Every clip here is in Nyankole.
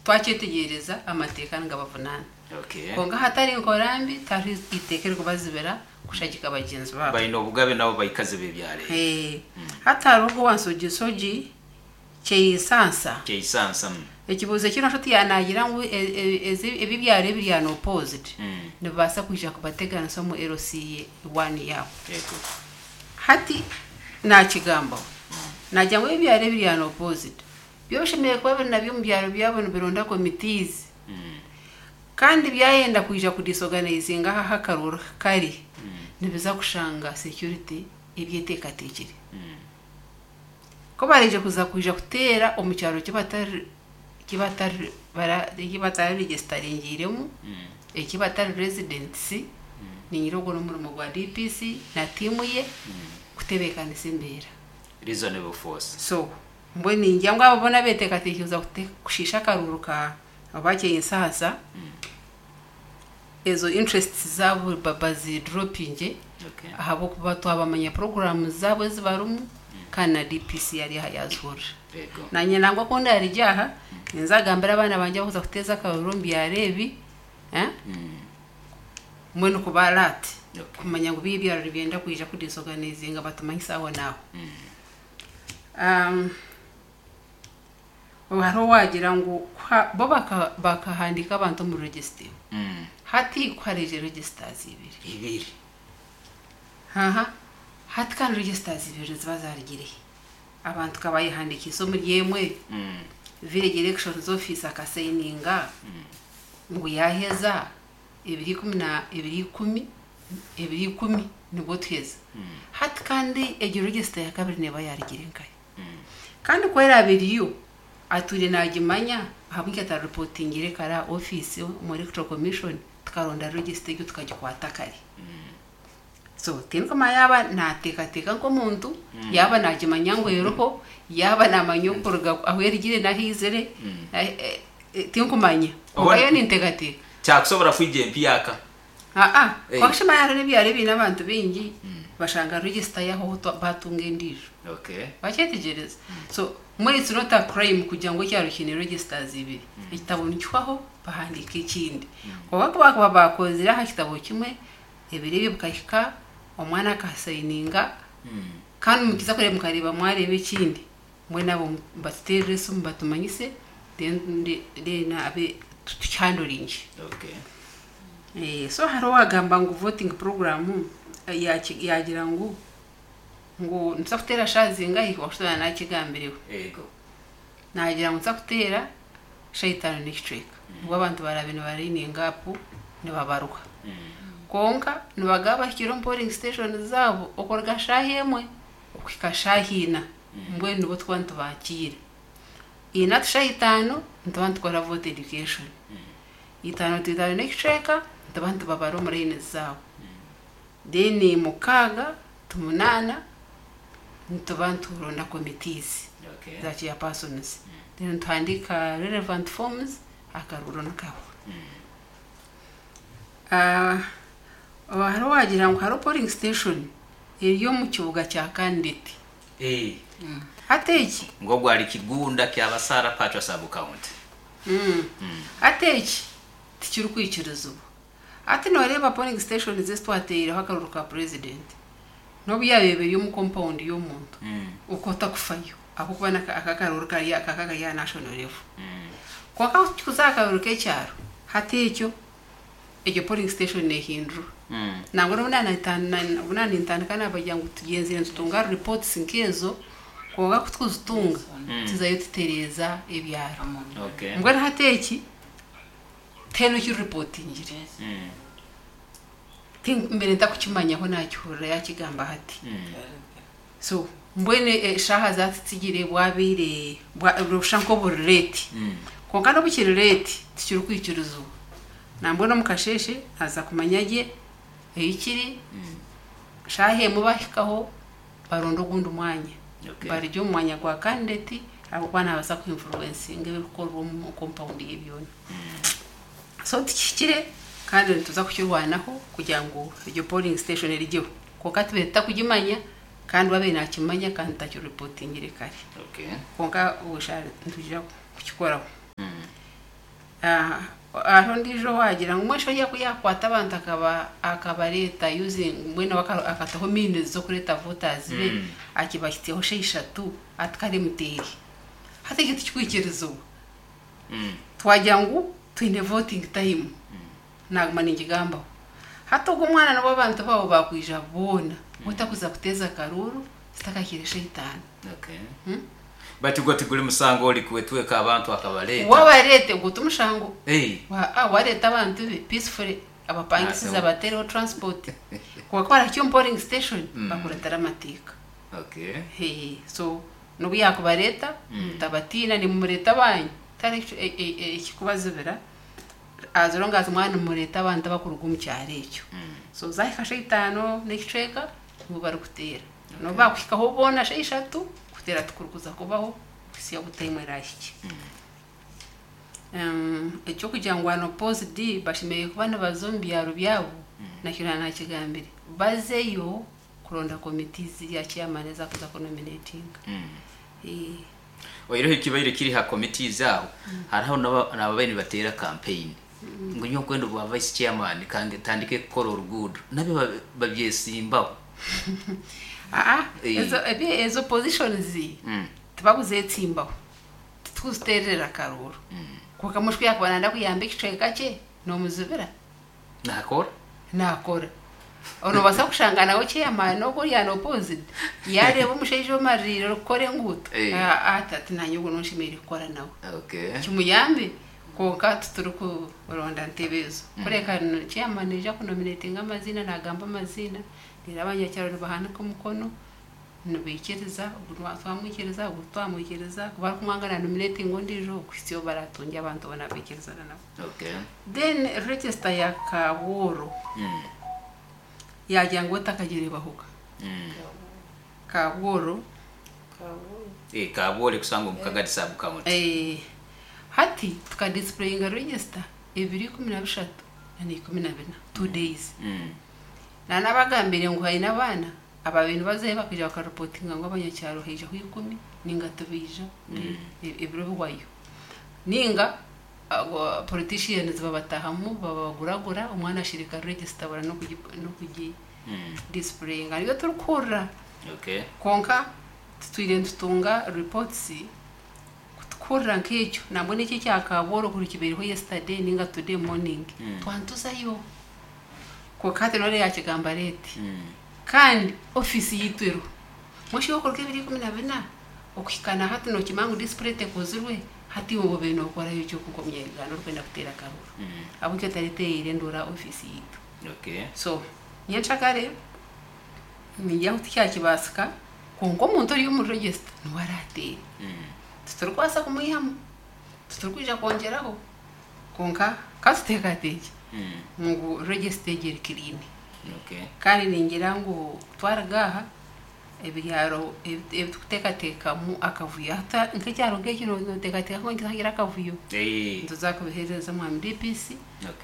Twakyetegyereza amateeka nigabavunaana. Kwonka ahatari nkora mbi tihariho iteeka eririkubazibira kushagika bagyenzi baabo. Baine obugabe nabo baikazi b'ebyaro ebi. Hati hariho ogwo owa Nsogisogi Kyeisansa. Kyeisansa. Ekibuuzo eki nosha oti yaaba naagira ngu ebi ebyaro ebiri unopposed nibibaasa kwija kubateganisa omu LC one yaabo. Hati naakigambaho naagira ngu ebi ebyaro ebiri unopposed Byo bishemereire kuba biri nabyo omu byaro byabo nibironda committees kandi byayenda kwija ku disorganizinga ahu akaruuru kari nibiza kushanga security ebyeteekateekire. Ku baraije kuza kwija kuteera omu kyaro eki batari eki batari bara eki batararegisitaringiiremu, eki batari residents, niinyira ogwo n'omurimo gwa DPC na tiimu ye kutebeekanisa embeera. Reasonable force. So Mbwenu ningira ngu abo boona abeeteekateekire kuza kushiisha akaruuru ka Obakyeyinsaasa, ezo interests zaabo bazidoropingye ahabw'okuba twabamanya puroguraamu zaabo ezi barimu kandi na DPC ari aha yaazihurira. Naanye nangwa ku ndaarugye aha, ninza kugambira abaana bangye abarikuza kuteeza akaruuru omu byaro ebi, mbwenu kuba alert kumanya ngu bi ebyaro nibyenda kwija kudisorganizinga batumanyise ahonaaho. Hariho owaagira ngu bo bakahandiika abantu omu register emwe. Hati ku hareija registers ibiri. Ibiri. Aha. Hati kandi registers ibiri niziba zaarugire hi? Abantu ka baayehandiikiise omuri emwe, village elections office akasayininga ngu yaaheza. Ebiro 10 nibwo tuheza. Hati kandi egyo register ya kabiri neeba yaarugire nkahi? Kandi ku eraabe eriyo, atwire naagimanya, ahabw'enki atariripotingire kare aha ofiisi omu Electoral Commission tukaronda register egyo tukagikwata kare? So tindikumanya yaaba naateekateeka nk'omuntu, yaaba naagimanya ngu eriho, yaaba naamanya okuruga ahu erugire n'ahu eizire, tinkumanya. Kwonka yo ninteekateeka. Kyakusobora kwija empyaka. Aa, kwonka shi manya hariho n'ebyaro ebiine abantu baingi, bashanga register yahwaho baatunga endiijo. Wakyetegyereza? So mbwenu it's not a crime kugira ngu ekyaro kiine registers ibiri. Ekitabo nikihwaho bahandiika ekindi. Kwonka ku baakuba baakozire aha kitabo kimwe, Ebiro ebyo bikahika, omwana akasayininga, kandi mukiza kureeba mukareeba mwareeba ekindi, mbwenu abo batuteerere esimu batumanyise then then abe tukihandoringye. Okay. So hariho owagamba ngu voting program yaagira ngu ngu nituza kuteera shaaha zingahi wakushusha naakigambireho. Yego. Naagira ngu nituza kuteera shaaha itaano n'ekicweka nibwo abantu baraabe nibarayininga apu nibabaruha. Kwonka nibagaba bahikire omu polling station zaabo okuruga shaaha emwe okuhika shaaha ina mbwenu nibwo turikuba nitubakiira. Ina to shaaha itaano nituba nitukora vote education. Itaano to itaano n'ekicweka nituba nitubabara omu layini zaabo. Then mukaaga to munaana nituba nituronda committees za chairpersons then nituhandiika relevant forms akaruuru nikahwa. Hariho owaagira ngu hariho polling station eri omu kibuga kya candidate. Hati eki. Ngu ogwo ari Kigunda Kyabasara Pachwa Sub County. Hati eki tikirikwikirizibwa. Hati nooreeba polling stations ezi twateireho akaruuru ka president n'obu yaabaire eri omu compound y'omuntu okwo otakufayo ahabw'okuba aka akaruuru kari aka kari aha national level. Kwonka ku turikuza aha karuuru k'ekyaro hati ekyo egyo polling station neehindurwa. Nangwa n'obu obu naaba nintandika naabagira ngu tugyenzire nitutunga reports nk'ezo kwonka ku turikuzitunga tuzayo tutereeza ebyaro. Mbwenu hati eki. Tihaine okiripotingire. Mbaire ntakukimanyaho naakihurira yaakigamba hati. So mbwenu eshaaha zaatutsigire bwabaire noshusha nk'oburi leeti. Kwonka n'obu kiri leeti tikirikwikirizibwa. Nambwenu omu kasheeshe naaza kumanya gye ei kiri, shaaha emwe baahikaho baronde ogundi mwanya. Barugye omu mwanya gwa kandidate ahabw'okuba naabaasa ku influencinga ebirikukorwa omu compound ye byona. So tikihikire kandi nituza kukirwanaho kugira ngu egyo polling station erugyeho. Kwonka tubaire tutakugimanya kandi we abaire nakimanya kandi tutakiripotingire kare. Kwonka nitwija kukikoraho. Hariho ondiijo owaagira ngu mbwenu shi oriya ku yaakwata abantu akabareeta using mbwenu akataho means z'okureeta voters be akibahitsyaho shaaha ishatu ati kare muteere. Hati ekyo tikikwikirizibwa. Twagira ngu twine voting time, naaguma ningigambaho. Hati ogwo omwana n'obu abantu baawe baakwija boona, otakuza kuteeza akaruuru zitakahiire shaaha itaano. Okay. Bati gwo tiguri musango ori kwetweka abantu akabareeta. Wabareeta ogwo timushango. Hey. Wareeta abantu be peacefully abapangisize Naaseho. abateereho transport. Kwonka barahika omu polling station bakuratira amateeka. Hey, so n'obu yaakubareeta mutabatiina nimumureeta abanyu tihariho ekikubazibira as long as mwaba nimureeta abantu abakuruga omu kyaro ekyo. So zaahika shaaha itaano n'ekicweka nibo barikuteera. N'obu baakuhikaho boona shaaha ishatu kuteera tikurikuza kubaho kuhitsya obu time eraahikye. Eky'okugira ngu unopposed bashemereire kuba nibaza omu byaro byabo nakyo naakigambire. Bazeyo kuronda committees ya chairman ezakuza kunominatinga. Oihireho ekibaire kiri ha committees aho, hariho n'ababaire nibateera campaign ngu nyowe nkwenda obwa vice chairman kandi ntandike kukora oruguudo nabyo babyesimbaho. Aa, ezo positions tibakuzeetsimbaho, titukuziteerera akaruuru. Kwonka mushi ku yaakuba nayenda kuyamba ekicweka kye, noomuzibira? Naakora. Naakora. Noobaasa kushanga nawe chairman ogwo ori unopposed yaareeba omushaija omaririire orikukora enguuto, ati ati naanye ogu niwe nshemereire kukora nawe. Kimuyambe kwonka titurikuronda ntebe ezo. Kureka chairman naija kunominatinga amaziina naagamba amaziina, reero abanyakyaro nibahanika omukono nibaikiriza ogu twamwikiriza ogu titwamwikiriza, ku barikumwanga na nominatinga ondiijo okuhitsya obu baraatungye abantu boona baikirizana nabo. Then register ya Kaabworo yaagira ngu otakagireebahoga. Kaabworo. Kaabworo ekusangwa omu Kagadi Sub County. Hati tukadisplayinga register ebiro 13 na 14, 2 days. Naanabagambire ngu haine abaana ababaire nibazayo bakaija bakareportinga ngu abanyakyaro haijaho 10 ninga tibaija ebiro bihwayo. Ninga politicians babatahamu babaguragura omwana ashirika register abura n'okugi displayinga. Nibyo turikuhurira. Kwonka tutwire nitutunga reports kutukuhurira nk'ekyo nambwenu eki ekya Kaabworo kuri kibaireho yesterday ninga today morning twantuzayo. Kwonka hati noreeba yakigamba late. Kandi ofiisi yaitu eriho. Mbwenu shi okuruga ebiro 14 okuhika na hati nookimanya ngu display tekozirwe hati iwe obaire nookorayo ki oku nk'omunya-Uganda orikwenda kuteera akaruuru? Ahabw'enki otareetereire enduura ofiisi yaitu? So nyencakare ningira ngu tikyakibaasika kwonka omuntu ori omu register niwe araateere. Titurikubaasa kumwihamu, titurikwija kwongyeraho kwonka katuteekateekye ngu register egi eri clean. Kandi ningira ngu twaruga aha ebyaro ebi turikuteekateekamu akavuyo nk'ekyaro nk'eki nooteekateeka ngu nikiza akavuyo nituza kubiheereza omwami DPC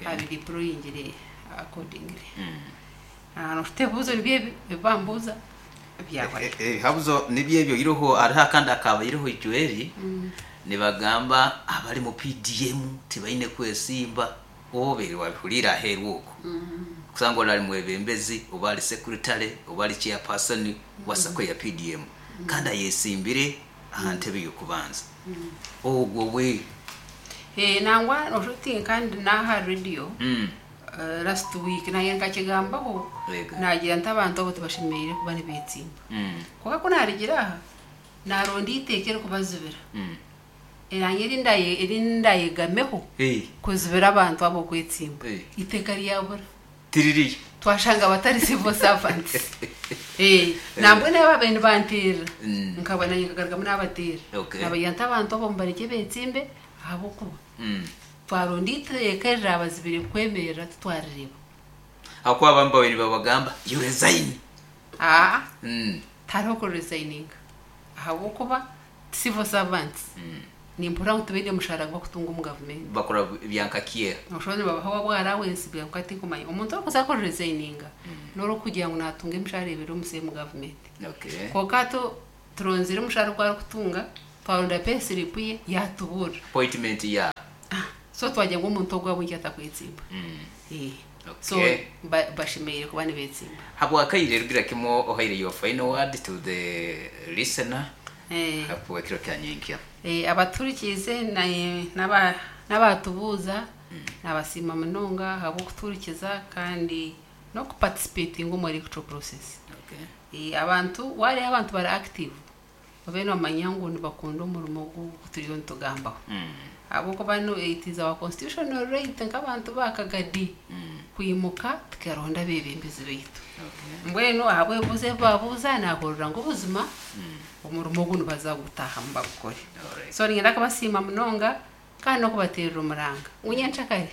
abideployingire accordingly. Noshusha ebibuuzo nibyo ebi ebi bambuuza byahwayo. Ebihabuzo nibyo ebyo oihireho hariho akandi akabaireho ijweri nibagamba abari mu PDM tibaine kwesimba obaire wabihuriire aheeru okwo kusanga ori ari mwebembezi oba ari secretary oba ari chairperson wa SACCO ya PDM kandi ayesimbire aha ntebe y'okubanza ogwo we. Nangwa noshusha oti kandi n'aha radio last week naanye nkakigambaho naagira nti abantu abo tibashemereire kuba nibeetsimba. Kwonka ku naarugire aha naaronda eiteeka erikubazibira. Naanye eri ndayegameho kuzibira abantu abo okwetsimba. Eiteeka ryabura. Tiririyo. Twashanga batari civil servants. Nambwenu ababaire nibanteerera nkaba naanye nkagarukamu naabateera. Naabagira nti abantu abo mubarekye beetsimbe ahabw'okuba twaronda eiteeka erirabazibire kwemerera titwarireeba. Ahakuba abamwe babaire nibabagamba you resign. Aa, tihariho kuresigninga ahabw'okuba civil servants nimpurira ngu tibaine mushaara gu bakutunga omu gavumenti. Bakora bya nka kiera. Noshusha nibabaha bwa allowance kwonka tinkumanya. Omuntu orikuza kuresigninga n'orikugira ngu naatunga emishahara ebiri omu same gavumenti. Kwonka hati turonzire omushaara ogu arikutunga, twaronda payslip ye yatuburira. Appointment ya. So twagira ngu omuntu ogu ahabw'enki atakwetsimba? So bashemereire kuba nibeetsimba. Habwakaire rugira kimwe ohaire your final word to the listener ahabw'ekiro kya nyenkya. Abatuhurikiize n'abaatubuuza nabasiima munonga ahabw'okutuhurikiza kandi n'okuparticipatinga omu electoral process. Abantu waareeba abantu bari active babe nibamanya ngu nibakunda omurimo ogu turiyo nitugambaho. Ahabw'okuba it is our constitutional right nk'abantu ba Kagadi kwimuka tukaronda abeebembezi baitu. Mbwenu ahabw'ebibuuzo ebi baabuuza naahurira ngu buzima omurimo ogu nibaza kugutaahamu bagukore. So niinyenda kubasiima munonga kandi n'okubateerera omuranga ngu nyenkyakare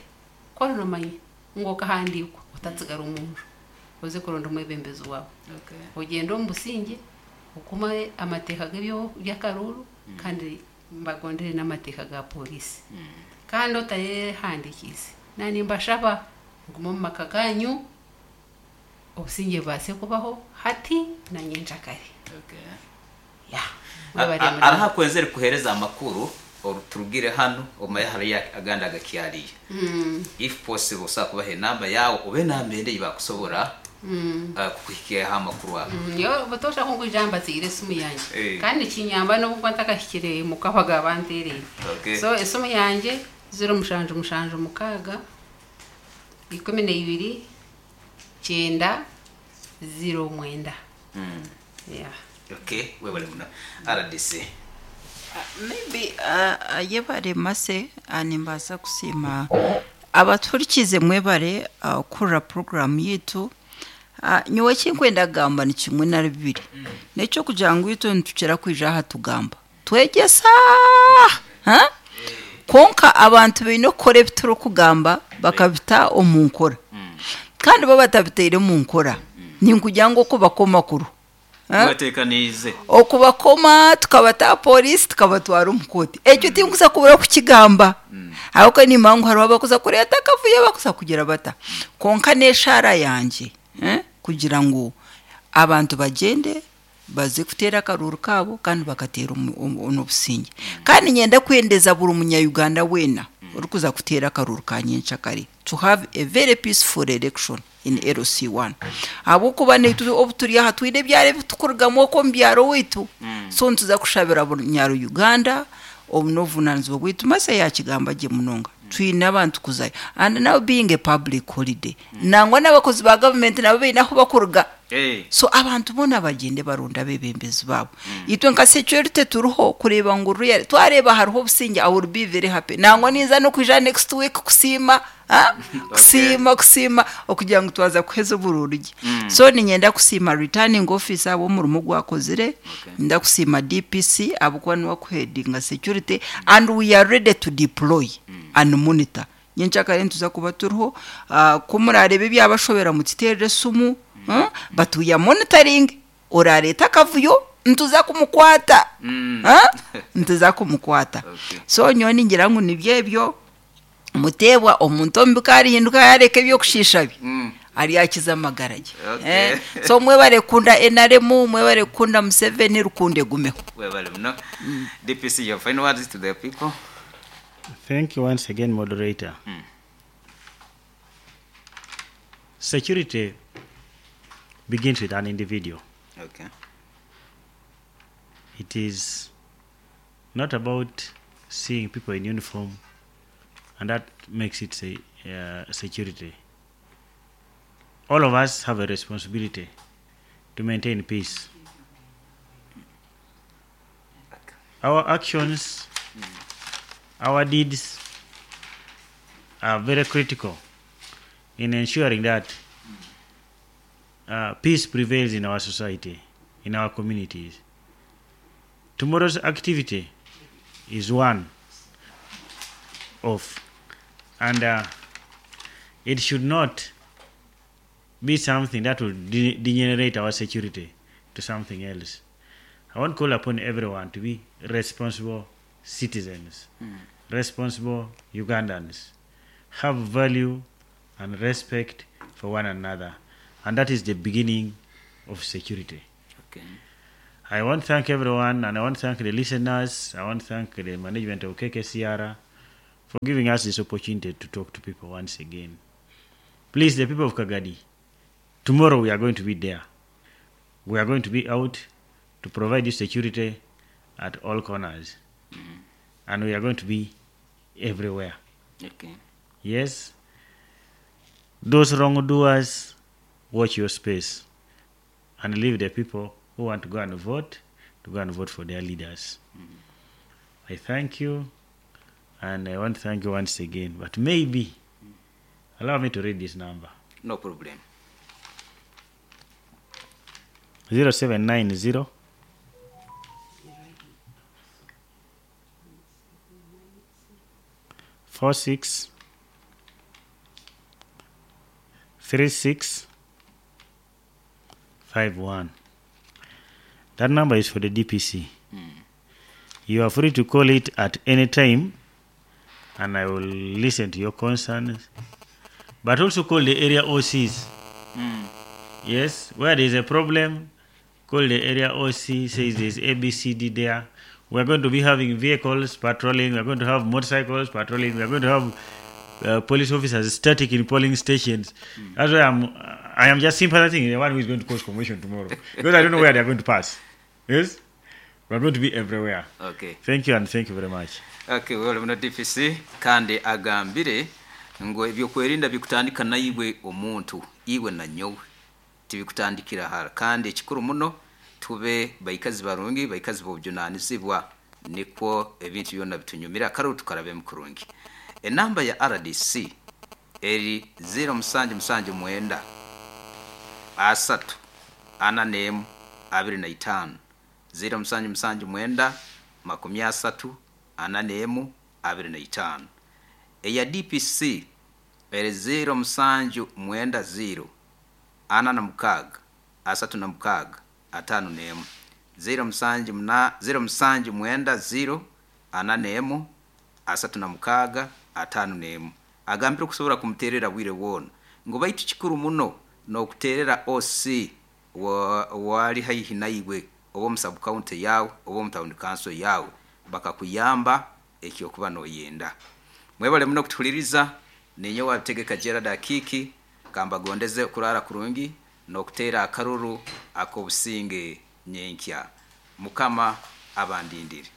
ku orinomanya ngu okahandiikwa otatsigara omu nju oze kuronda omwebembezi waawe. Ogyende omu busingye okume amateeka g'eby'akaruuru kandi mbagondere n'amateeka ga pooriisi. Kandi otayehandiikiise, naanye nimbashaba mugume omu maka gaanyu obusingye bubaase kubaho hati na nyenkyakare. Yeah, mwebare munonga. Hariho akwenzire kukuheereza amakuru turugire hanu omanye hariyo agandi agakyariyo. If possible osobola kubaha enamba yaawe oba enamba endi ei bakusobora kukuhikyaho amakuru ago. Nyowe butoosha ku nkwija mbateire esimu yangye kandi nikinyamba n'obu nkuba ntakahikire muka bakaba banteereire. So esimu yangye ziro mushanju mushanju mukaaga, 12, 90, 09. Yeah. Okay, webale muno. Rdc. Maybe yebare Mercy, nimbaasa kusiima abatuhurikiize mwebare kuhurira puroguraamu yaitu. Nyowe eki ndikwenda kugamba ni kimwe nari bibiri. N'eky'okugira ngu itwe nitukira kwija aha tugamba twegyesa kwonka abantu baine kukora ebi turikugamba bakabita omu nkora. Kandi bo batabitaire omu nkora ninkugira ngu okubakoma kuriho. Mweteekaniize. Okubakoma tukabata aha pooriisi tukabatwara omu kooti. Ekyo tinkuza kubura kukigamba ahabw'okuba nimanya ngu hariho abarikuza kureeta akavuyo abarikuza kugira bata. Kwonka n'eshaara yangye kugira ngu abantu bagyende baze kuteera akaruuru kaabo kandi bakateera n'obusingye. Kandi niinyenda kwendeza buri munya-Uganda weena orikuza kuteera akaruuru ka nyenkyakare to have a very peaceful election in LC1 ahabw'okuba naitwe obu turi aha twine ebyaro ebi turikurugamu okwo omu byaro owaitu so nituza kushabira buri munya-Uganda obu n'obuvunaanizibwa bwaitu. Mercy yaakigamba gye munonga twine abantu kuzayo and now being a public holiday nangwa n'abakozi ba gavumenti nabo baine ahu bakuruga so abantu boona bagyende baronde abeebembezi baabo. Itwe nka security turiho kureeba ngu really twareeba hariho obusingye I will be very happy nangwa ninza n'okwija next week kusiima Kusiima, kusiima okugira ngu twaza kuheza oburuuru gye. So niinyenda kusiima returning officer ahabw'omurimo ogu akozire, niinyenda kusiima DPC ahabw'okuba niwe arikuheadinga security and we are ready to deploy and monitor. Nyenkyakare nituza kuba turiho, ku muraareebe ebyabashobera mututeerere esimu but we are monitoring, oraareete akavuyo nituza kumukwata, nituza kumukwata. So nyowe ningira ngu nibyo ebyo. Muteebwa, omuntu omubi ku arihinduka yaareka eby'okushiisha bye, aryakiza amagara ge. Okay. So mwebare kukunda NRM, mwebare kukunda Museveni, rukundo egumeho. Webale muno. DPC, your final words to the people. Thank you once again, moderator. Security begins with an individual. Okay. It is not about seeing people in uniform and that makes it say, security. All of us have a responsibility to maintain peace. Our actions, our deeds are very critical in ensuring that peace prevails in our society, in our communities. Tomorrow's activity is one off, and it should not be something that will degenerate our security to something else. I want to call upon everyone to be responsible citizens, responsible Ugandans, have value and respect for one another, and that is the beginning of security. Okay. I want to thank everyone, and I want to thank the listeners. I want to thank the management of KKCR for giving us this opportunity to talk to people once again. Please, the people of Kagadi, tomorrow we are going to be there. We are going to be out to provide you security at all corners. And we are going to be everywhere. Okay. Yes, those wrongdoers, watch your space and leave the people who want to go and vote to go and vote for their leaders. I thank you, and I want to thank you once again. But maybe allow me to read this number. No problem. 0790 46 36 51. That number is for the DPC. You are free to call it at any time, and I will listen to your concerns. But also call the area OCs. Yes, where there is a problem, call the area OC, says there's ABCD there. We're going to be having vehicles patrolling, we're going to have motorcycles patrolling, we're going to have police officers static in polling stations. That's why I am just sympathizing the one who is going to cause commotion tomorrow. Because I don't know where they're going to pass. Yes? We're going to be everywhere. Okay. Thank you, and thank you very much. Okay, well, muno DPC kandi agambire ngu ebyokwerinda bikutandika naiwe omuntu, iwe na nyowe, tibikutandikira hara. Kandi ekikuru muno tube baikazi barungi, baikazi b'obujunanizibwa, nikwo ebintu byona bitunyumira akaruru tukarabemu kurungi. Enamba ya RDC eri 0779 3 41 25, 0779 30 41 25. Eya DPC eri 0790 46 36 51, 0790 41 36 51. Agambire okusobora kumuterera bwire bwona ngu baitu kikuru muno n'okuterera OC wali haihi naiwe, oba omu sub county yawe oba omu town council yawe, bakakuyamba ekyokuba noyenda. Mwebale muno kutuhuliriza. Ninye wabitegeka Gerard Akiki, kambagondeze kurara kurungi n'okuteera akaruru ak'obusinge nyenkya. Mukama abandindire.